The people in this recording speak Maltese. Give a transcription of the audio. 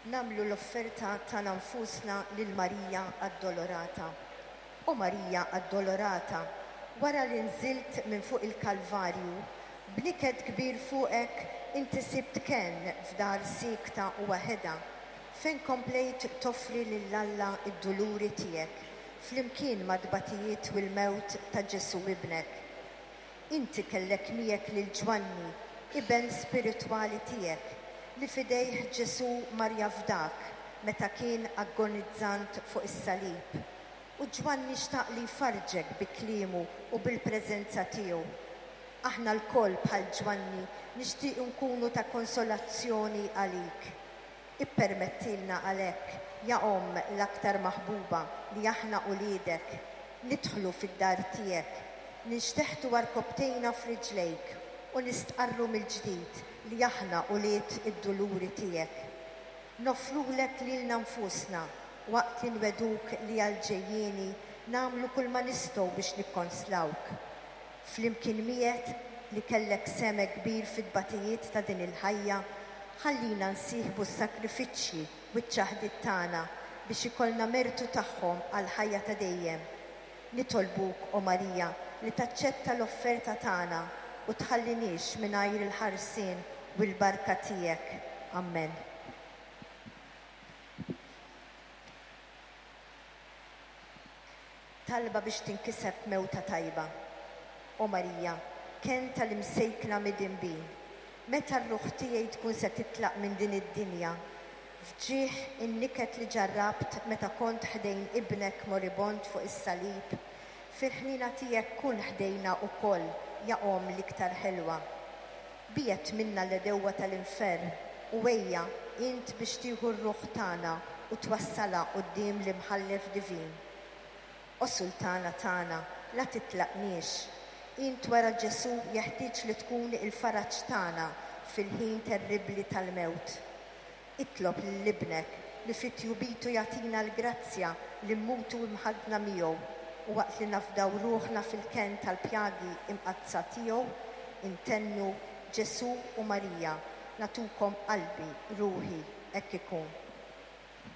Nagħmlu l-offerta tagħna nfusna lil Marija Addolorata. O Marija Addolorata, wara li nżilt minn fuq il-Kalvarju, b'niket kbir fuqek inti sibt kenn f'dar siekta u waħedha, fejn komplejt toffri lil Alla d-duluri tiegħek flimkien mat-tbatijiet u l-mewt ta' Ġesù Ibnek. Inti kellek miegħek lil Ġwanni, iben spiritwali tiegħek, li f'idejh Ġesù mar jafdak meta kien agonizzant fuq is-salib. U Ġwanni xtaq li jfarrġek bi kliemu u bil-preżenza tiegħu. Aħna lkoll bħal Ġwanni nixtiequ nkunu ta' konsolazzjoni għalik. Ippermettilna għalhekk, ja Omm l-aktar maħbuba li aħna uliedek, nidħlu fid-dar tiegħek, ninxteħtu għarkopptejna f'riġlejk u nistqarru mill-ġdid li aħna ulied id-duluri tiegħek. Noffrulek lilna nfusna waqt li nwegħduk li għall-ġejjieni nagħmlu kulma nistgħu biex nikkonslawk. Flimkien miegħek, li kellek sehem hekk kbir fit-tbatijiet ta' din il-ħajja, ħallina nsieħbu s-sagrifiċċji u ċ-ċaħdiet tagħna biex ikollna mertu tagħhom għall-ħajja ta' dejjem. Nitolbuk, o Marija, li taċċetta l-offerta tagħna u tħalliniex mingħajr il-ħarsien u l-barka tiegħek. Ammen. Talba biex tinkiseb mewta tajba. O Marija, kenn tal-imsejkna midinbin, meta r-ruħ tiegħi tkun se titlaq minn din id-dinja, f'ġieħ in-niket li ġarrabt meta kont ħdejn Ibnek moribond fuq is-salib, fil-ħniena tiegħek kun ħdejna ukoll, ja Omm l-iktar ħelwa. Biegħed minna l-għedewwa tal-infern u ejja int biex tieħu r-ruħ tagħna u twassalha quddiem l-Imħallef divin. O Sultana tagħna, la titlaqniex. Int wara Ġesù jeħtieġ li tkun il-faraġ tagħna fil-ħin terribbli tal-mewt. Itlob lil Ibnek li fi tjubitu jagħtina l-grazzja li mmutu imħaddna miegħu u waqt li nafdaw ruħna fil-kenn tal-pjagi imqaddsa tiegħu, intennu, Ġesù u Marija, nagħtukom qalbi, ruħi, hekk ikun.